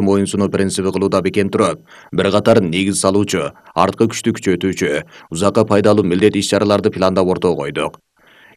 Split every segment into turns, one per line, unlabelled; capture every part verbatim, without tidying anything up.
моюнсунуу принциби кылууда бекем туруп, бир катар негиз салуучу, арткы күчтү күчөтүүчү, узакка пайдалуу милдет иш-чараларды пландап ортого койдук.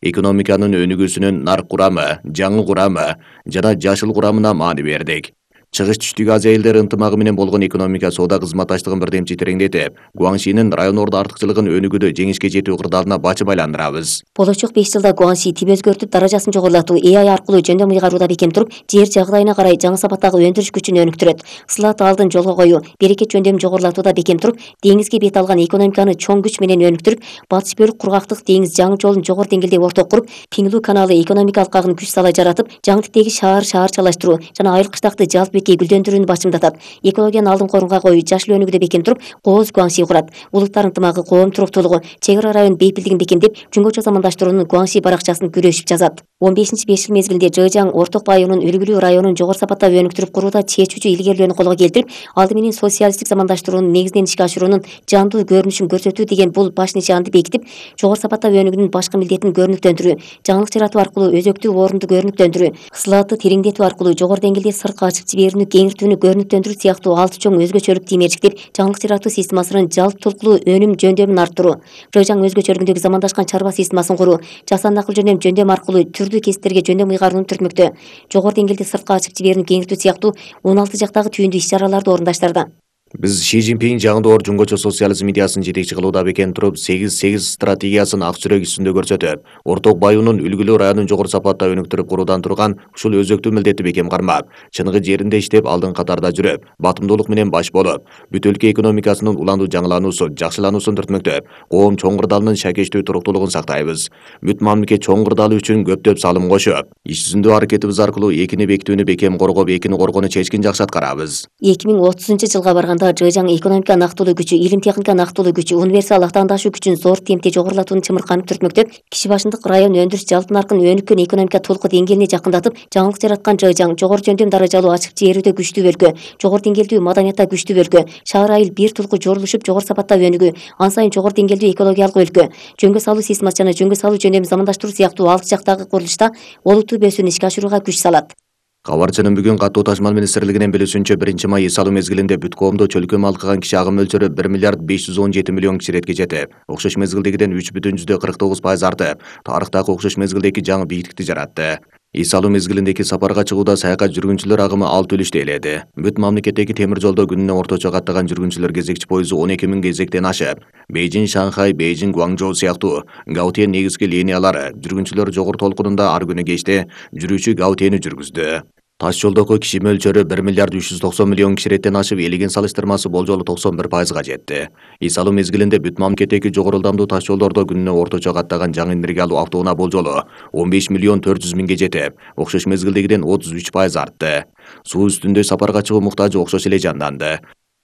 Экономиканын өнүгүүсүнүн нарк курамы, жаңы курамы жана жашыл курамына маани бердик. Чыгыш түштүк Азия элдери ынтымагы менен болгон экономика соода кызматташтыгын бирдемчи тереңдетип, Гуаншинин райондордо артыкчылыгын өнүгүүдө жеңишке жетүү кырдаалына бачып айландырабыз.
Болочок беш жылда Гуанши тип өзгөртүп, даражасын жогорулатуу, э ай аркылуу жөндөм ыйгарууда бекем туруп, жер жагдайына карай жаңы сапаттагы өндүрүш күчүн өнүктүрөт. Сылат алдын жолго коюу, берекет жөндөмүн жогорулатууда бекем туруп, деңизге бет алган экономиканы чоң күч менен өнүктүрүп, батыш бөлүк кургактык деңиз жаңы жолун жогору деңгээлде ортого куруп, Пиңлу каналы экономика алкагын күч сала жаратып, жаңы типтеги шаар шаарчалаштыруу жана айыл кыштакты жалпы бетке гүлдөндүрүүнү башымдатат. Экологияны алдын орунга коюу, жашыл өнүгүүдө бекем туруп, кооз Гуанши курат. Улуттар ынтымагы, коом туруктуулугу, чек ара район бейпилдигин бекемдеп, жөнгөчө замандаштыруунун Гуанши баракчасын күрөшүп жазат. он бешинчи беш жыл мезгилинде Жэжаң Орток Байонун үлгүлүү районун жогору сапаттап өнүктүрүп курууда чечүүчү илгерилөөнү колго келтирип, алды менен социалисттик замандаштыруунун негизинен ишке ашыруунун жандуу көрүнүшүн көрсөтүү деген бул баш нишаанды бекитип, жогору сапаттап өнүгүүнүн башкы милдетин көрүнүктөндүрүү, жаңылык жаратуу аркылуу өзөктүү орунду көрүнүктөндүрүү, сылаатты тереңдетүү аркылуу жогору деңгээлде сыртка ачып жиберүүнү кеңиртүүнү көрүнүктөндүрүү сыяктуу алты чоң өзгөчөлүк тиймерчиктер жаңылык жаратуу системасынын жалпы толкулуу өнүм жөндөмүн арттыруу, Жэжаң өзгөчөлүгүндөгү замандашкан чарба системасын куруу, жасанды акыл жөндөм жөндөм аркылуу түрдүү кесиптерге жөндөм ыйгарууну түртмөктө, жогору деңгээлде сыртка ачып жиберүүнү кеңиртүү сыяктуу он алты жактагы түйүндүү иш-чараларды орундаштырды.
Биз Ши Цзиньпин жаңы жөнгөчө социализм идеясын жетекчи кылууда бекем туруп, сегиз сегиз стратегиясын ак сүрөк үстүндө көрсөтүп, Орток Байонун үлгүлүү районун жогору сапатта өнүктүрүп куруудан турган ушул өзөктүү милдетти бекем кармап, чыныгы жеринде иштеп, алдын катарда жүрүп, батымдуулук менен баш болуп, бүт өлкө экономикасынын уландуу жаңылануусун, жакшылануусун түртмөктөп, коом чоң кырдаалынын шакештүү туруктуулугун сактайбыз. Бүт мамлекет чоң кырдаалы үчүн көптөп салым кошуп, иш жүзүндө аракетибиз аркылуу экини бекитүүнү бекем коргоп, экини коргоону чечкин жакшы аткарабыз.
эки миң отузунчу жылга барганда Жэжаң экономика нактылуу күчү, илим техника нактылуу күчү, универсал актаандашуу күчүн зор темпте жогорулатууну чымырканып түртмөктөп, киши башындык район өндүрүш жалпы наркын өнүккөн экономика толуку деңгээлине жакындатып, жаңылык жараткан Жэжаң жогору жөндөм даражалуу ачык жиберүүдө күчтүү өлкө, жогору деңгээлдүү маданиятта күчтүү өлкө, шаар айыл бир тулку жорулушуп жогору сапатта өнүгүү, ан сайын жогору деңгээлдүү экологиялык өлкө, жөнгө салуу системасы жана жөнгө салуу жөндөмүн замандаштыруу сыяктуу алты жактагы курулушта олуттуу бөөсүүнү ишке ашырууга күч салат.
Кабарчынын бүгүн каттуу ташмал министрлигинин билүүсүнчө биринчи май эс алуу мезгилинде бүт коомдо чөлкө малкыган киши агым мөлчөрү бир миллиард беш жүз он жети миллион киши иретке жетип, окшош мезгилдегиден үч бүтүн жүздө кырк тогуз пайыз артып, тарыхтагы окшош мезгилдеги жаңы бийиктикти жаратты. Эс алуу мезгилиндеги сапарга чыгууда саякат жүргүнчүлөр агымы алты үлүштө ээледи. Бүт мамлекеттеги темир жолдо күнүнө орточо каттаган жүргүнчүлөр кезекчи пойузу он эки миң кезектен ашып, Бейжиң, Шанхай, Бейжиң, Гуаңжоу сыяктуу Гаутен негизги линиялары жүргүнчүлөр жогору толкунунда ар күнү кечте жүрүүчү Гаутени жүргүздү. Таш жолдогу киши мөлчөрү бир миллиард үч жүз токсон миллион киши иреттен ашып, элеген салыштырмасы болжолу токсон бир пайызга жетти. Эс алуу мезгилинде бүт мамлекеттеги жогору ылдамдуу таш жолдордо күнүнө орточо каттаган жаңы энергия алуу автоунаа болжолу он беш миллион төрт жүз миңге жетип, окшош мезгилдегиден отуз үч пайыз артты. Суу үстүндө сапарга чыгуу муктажы окшош эле жанданды.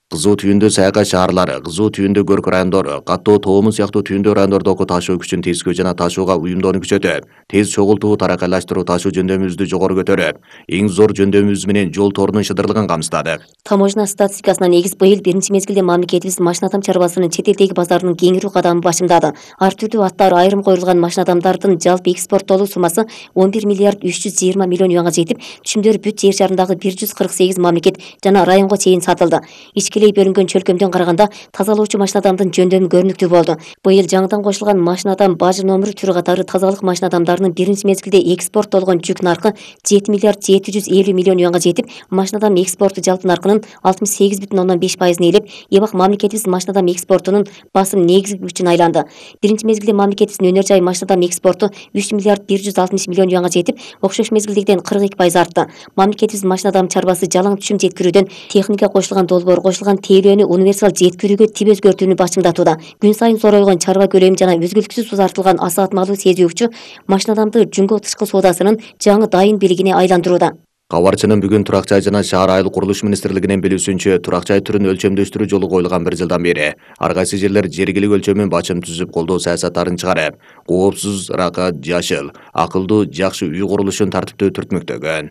Кызуу түйүндө саякат шаарлары, кызуу түйүндө көрк райондору, каттоо тоомун сыяктуу түйүндө райондордогу ташуу күчүн тескөө жана ташууга уюмдоону күчөтүп, тез чогултуу, таракайлаштыруу ташуу жөндөмүбүздү жогору көтөрүп, эң зор жөндөмүбүз менен жол торунун шыдырлыгын камсыздадык.
Таможня статистикасына негиз быйыл биринчи мезгилде мамлекетибиз машинатам чарбасынын чет элдеги базарынын кеңирүү кадамын башымдады. Ар түрдүү аттар айрым коюлган машинатамдардын жалпы экспорттолуу суммасы он бир миллиард үч жүз жыйырма миллион юанга жетип, түшүмдөр бүт жер шарындагы бир жүз кырк сегиз мамлекет жана районго чейин сатылды. Ичкилей бөлүнгөн чөлкөмдөн караганда тазалоочу машинатамдын жөндөмү көрүнүктүү болду. Быйыл жаңыдан кошулган машинатам бажы номер түрү катары тазалык машинатамдарынын биринчи мезгилде экспорттолгон жүк наркы жети миллиард жети жүз элүү миллион юанга жетип, машинатам экспорту жалпы наркынын алтымыш сегиз бүтүн ондон беш пайызын ээлеп, эбак мамлекетибиз машинатам экспортунун басым негизги күчүнө айланды. Биринчи мезгилде мамлекетибиздин өнөр жай машинатам экспорту үч миллиард бир жүз алтымыш миллион юанга жетип, окшош мезгилдегиден кырк эки пайыз артты. Мамлекетибиз машинатам чарбасы жалаң түшүм жеткирүүдөн техника кошулган долбоор, кошулган тейлөөнү универсал жеткирүүгө тип өзгөртүүнү башымдатууда. Күн сайын зоройгон чарба көлөмү жана үзгүлтүксүз узартылган асаатмалуу сезүүчү машинатамды жөнгө тышкы соодасынын жаңы дайын бийлигине айландырууда.
Кабарчынын бүгүн турак жай жана шаар айыл курулуш министрлигинин билүүсүнчө, турак жай түрүн өлчөмдөштүрүү жолу коюлган бир жылдан бери ар кайсы жерлер жергилик өлчөмүн бачым түзүп, колдоо саясаттарын чыгарып, коопсуз, ракат, жашыл, акылдуу, жакшы үй курулушун тартиптүү түртмөктөгөн.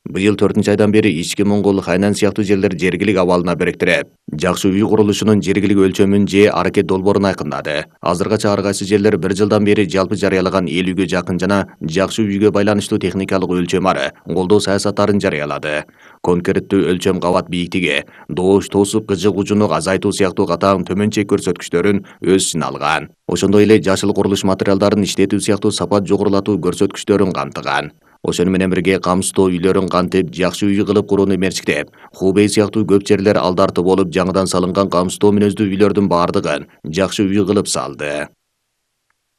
Быйыл төртүнчү айдан бери Ички Моңгол, Хайнан сыяктуу жерлер жергилик абалына бириктирип, жакшы үй курулушунун жергилик өлчөмүн же аракет долбоорун айкындады. Азыркача ар кайсы жерлер бир жылдан бери жалпы жарыялаган элүүгө жакын жана жакшы үйгө байланыштуу техникалык өлчөм ары колдоо саясаттарын жарыялады. Конкреттүү өлчөм кабат бийиктиги, доош тоосуп кыжы кужуну азайтуу сыяктуу катаң төмөн чек көрсөткүчтөрүн өз ичине алган. Ошондой эле жашыл курулуш материалдарын иштетүү сыяктуу сапат жогорулатуу көрсөткүчтөрүн камтыган. Ошону менен бирге камсыздоо үйлөрүн кантип жакшы үй кылып курууну мерчиктеп, Хубей сыяктуу көп жерлер алдарты болуп жаңыдан салынган камсыздоо мүнөздүү үйлөрдүн баардыгын жакшы үй кылып салды.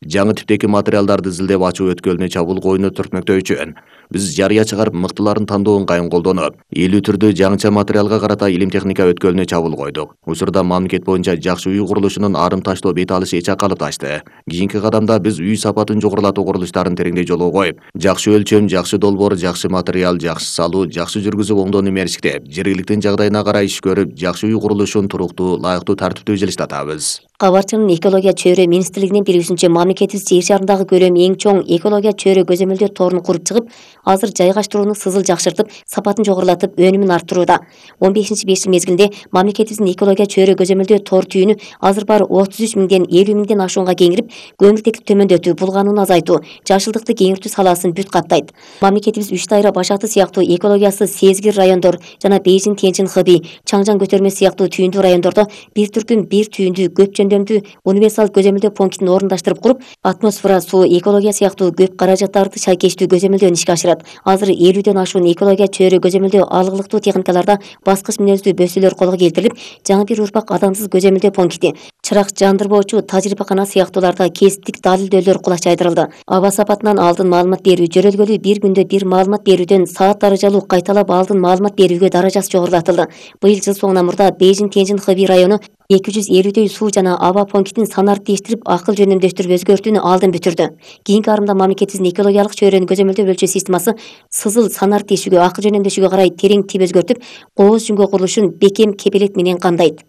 Жаңы типтеги материалдарды изилдеп ачуу өткөлүнө чабуул коюуну түртмөктөө үчүн биз жарыя чыгарып мыктыларын тандоон кайын колдонуп, элүү түрдүү жаңыча материалга карата илим техника өткөлүнө чабуул койдук. Учурда мамлекет боюнча жакшы үй курулушунун арым таштоо бет алышы эч ак калыпташты. Кийинки кадамда биз үй сапатын жогорулатуу курулуштарын тереңдей жолго коюп, жакшы өлчөм, жакшы долбоор, жакшы материал, жакшы салуу, жакшы жүргүзүп оңдоону мерчиктеп, жергиликтин жагдайына карай иш көрүп, жакшы үй курулушун туруктуу, ылайыктуу тартиптүү жылыштатабыз.
Кабарчынын экология чөйрө министрлигинин билүүсүнчө, мамлекетибиз жер шарындагы көлөмү эң чоң экология чөйрө көзөмөлдөө торун куруп чыгып, азыр жайгаштырууну сызыл жакшыртып, сапатын жогорулатып, өнүмүн арттырууда. он бешинчи беш жыл мезгилинде мамлекетибиздин экология чөйрө көзөмөлдөө тор түйүнү азыр баары отуз үч миңден элүү миңден ашуунга кеңирип, көмүртектик төмөндөтүү, булганууну азайтуу, жашылдыкты кеңиртүү саласын бүт каптайт. Мамлекетибиз Үч Дайра, Башакты сыяктуу экологиясы сезгир райондор жана Бейжин, Тяньшин, Хэби, Чаңжан көтөрмө сыяктуу түйүндүү райондордо бир түркүм бир түйүндүү көп жөндөмдүү универсал көзөмөлдөө пунктин орундаштырып куруп, атмосфера, суу, экология сыяктуу көп каражаттарды шайкештүү көзөмөлдөөнү ишке ашырат. Азыр элүүдөн ашуун экология чөйрө көзөмөлдөө алгылыктуу техникаларда баскыч мүнөздүү бөсөлөр колго келтирилип, жаңы бир урпак адамсыз көзөмөлдөө пункти, чырак жандырбоочу тажрыйбакана сыяктууларда кесиптик далилдөөлөр кулаш жайдырылды. Аба сапатынан алдын маалымат берүү, жөрөлгөлүү бир күндө бир маалымат берүүдөн саат даражалуу кайталап алдын маалымат берүүгө даражасы жогорулатылды. Быйыл жыл соңуна мурда Бейжин, Тяньшин, Хэби району эки жүз элүүдөй суу жана аба пунктин санарын тийиштирип, акыл жөнөмдөштүрүп өзгөртүүнү алдын бүтүрдү. Кийинки арымда мамлекетибиздин экологиялык чөйрөнү көзөмөлдөө өлчөө системасы сызыл санар тийишүүгө, акыл жөнөмдөшүүгө карай терең тип өзгөртүп, кооз жүнгө курулушун бекем кепилет менен камдайт.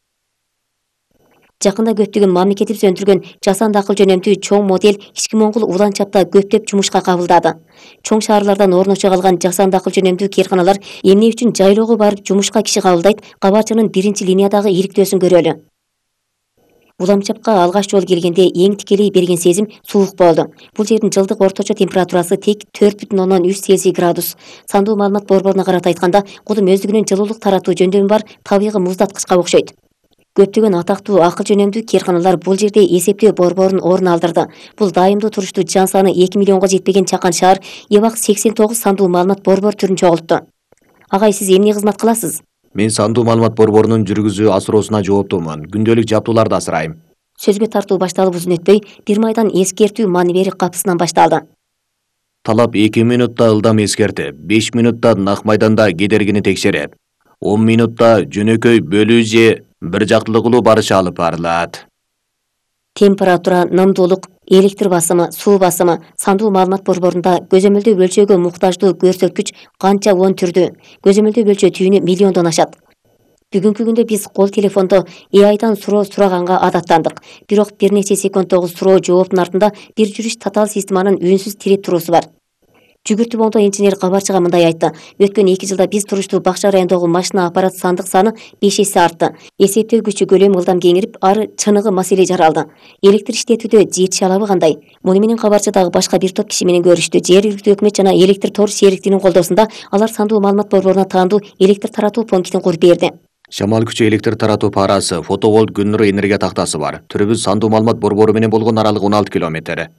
Жакында көптөгөн мамлекетибиз өндүргөн жасанды акыл жөнөмдүү чоң модель Ички Моңгол улан чапта көптөп жумушка кабылдады. Чоң шаарлардан орношо калган жасанды акыл жөнөмдүү кээрканалар эмне үчүн жайлоого барып жумушка киши кабылдайт, Кабарчынын биринчи линиядагы иликтөөсүн көрөлү. Уламчапка алгач жолу келгенде эң тикелей берген сезим суук болду. Бул жердин жылдык орточо температурасы тек төрт бүтүн ондон үч Цельсий градус. Сандуу маалымат борборуна карата айтканда, кудум өздүгүнүн жылуулук таратуу жөндөмү бар табигый муздаткычка окшойт. Көптөгөн атактуу акыл жөнөмдүү кээрканалар бул жерде эсептөө борборун орун алдырды. Бул дайымдуу туруштуу жан саны эки миллионго жетпеген чакан шаар Эбак сексен тогуз сандуу маалымат борбор түрүн чогултту. Агай, сиз эмне кызмат кыласыз?
Мен сандуу маалымат борборунун жүргүзүү асыроосуна жооптумун. Күндөлүк жаптууларды асырайм.
Сөзгө тартуу башталып узун өтпөй, бир майдан эскертүү маневери капысынан башталды.
Талап эки минутта ылдам эскертип, беш минутта нак майданда кедергини текшерип, он минутта жөнөкөй бөлүү же бир жактылыгылуу барыш алып барылат.
Температура, нымдуулук, электр басымы, суу басымы сандуу маалымат борборунда көзөмөлдөө өлчөөгө муктаждуу көрсөткүч канча он түрдүү. Көзөмөлдөө өлчөө түйүнү миллиондон ашат. Бүгүнкү күндө биз кол телефондо э айдан суроо сураганга адаттандык. Бирок бир нече секундтогу суроо жооптун артында бир жүрүш татаал системанын үнсүз тиреп туруусу бар. Жүгүртүп оңдоо инженер Кабарчыга мындай айтты: өткөн эки жылда биз туруштуу Бакча районундагы машина аппарат сандык саны беш эсе артты. Эсептөө күчү көлөмү ылдам кеңирип, ары чыныгы маселе жаралды. Электр иштетүүдө жетише алабы кандай? Муну менен Кабарчыдагы башка бир топ киши менен көрүштү. Жергиликтүү өкмөт жана электр тор сериктигинин колдоосунда алар сандуу маалымат борборуна таандуу электр таратуу пунктин куруп берди.
Шамал күчү электр таратуу парасы, фотоволт күн нуру энергия тактасы бар. Түрүбүз сандуу маалымат борбору менен болгон аралык он алты километр.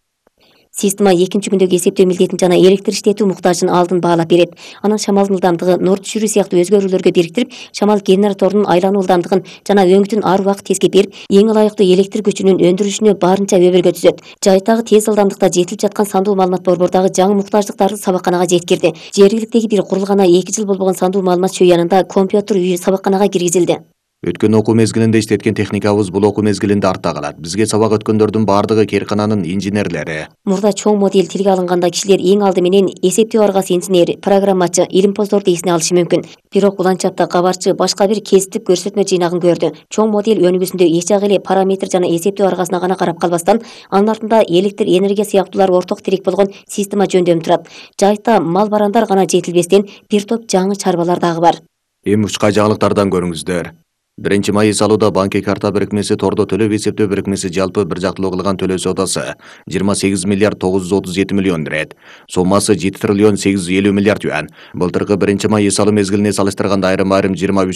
Система экинчи күндөгү эсептөө милдетин жана электр иштетүү муктажын алдын баалап берет. Анан шамалдын ылдамдыгы нур түшүрүү сыяктуу өзгөрүүлөргө бириктирип, шамал генераторунун айлануу ылдамдыгын жана өңүтүн ар убакыт тескеп берип, эң ылайыктуу электр күчүнүн өндүрүлүшүнө барынча өбөлгө түзөт. Жайыттагы тез ылдамдыкта жетилип жаткан сандуу маалымат борбордагы жаңы муктаждыктарды сабакканага жеткирди. Жергиликтеги бир курулгана эки жыл болбогон сандуу маалымат чүй янында компьютер үйү сабакканага киргизилди.
Өткөн окуу мезгилинде иштеткен техникабыз бул окуу мезгилинде артта калат. Бизге сабак өткөндөрдүн бардыгы кээркананын инженерлери.
Мурда чоң модель тилге алынганда кишилер эң алды менен эсептөө аргасы инженер, программачы, илимпоздорду эсине алышы мүмкүн. Бирок уланчакта кабарчы башка бир кесиптик көрсөтмө жыйнагын көрдү. Чоң модель өнүгүүсүндө эч жагы эле параметр жана эсептөө аргасына гана карап калбастан, анын артында электр энергия сыяктуулар орток тирек болгон система жөндөмү турат. Жайыкта мал барандар гана жетилбестен бир топ жаңы чарбалар дагы бар.
Эми учкай жаңылыктардан көрүңүздөр. Биринчи май салууда банки карта бирикмеси тордо төлөп эсептөө бирикмеси жалпы бир жактылуу кылган төлөө содасы жыйырма сегиз миллиард тогуз жүз отуз жети миллион ирет. Соммасы жети триллион сегиз жүз элүү миллиард юан. Былтыркы биринчи май салуу мезгилине салыштырганда айрым-айрым жыйырма үч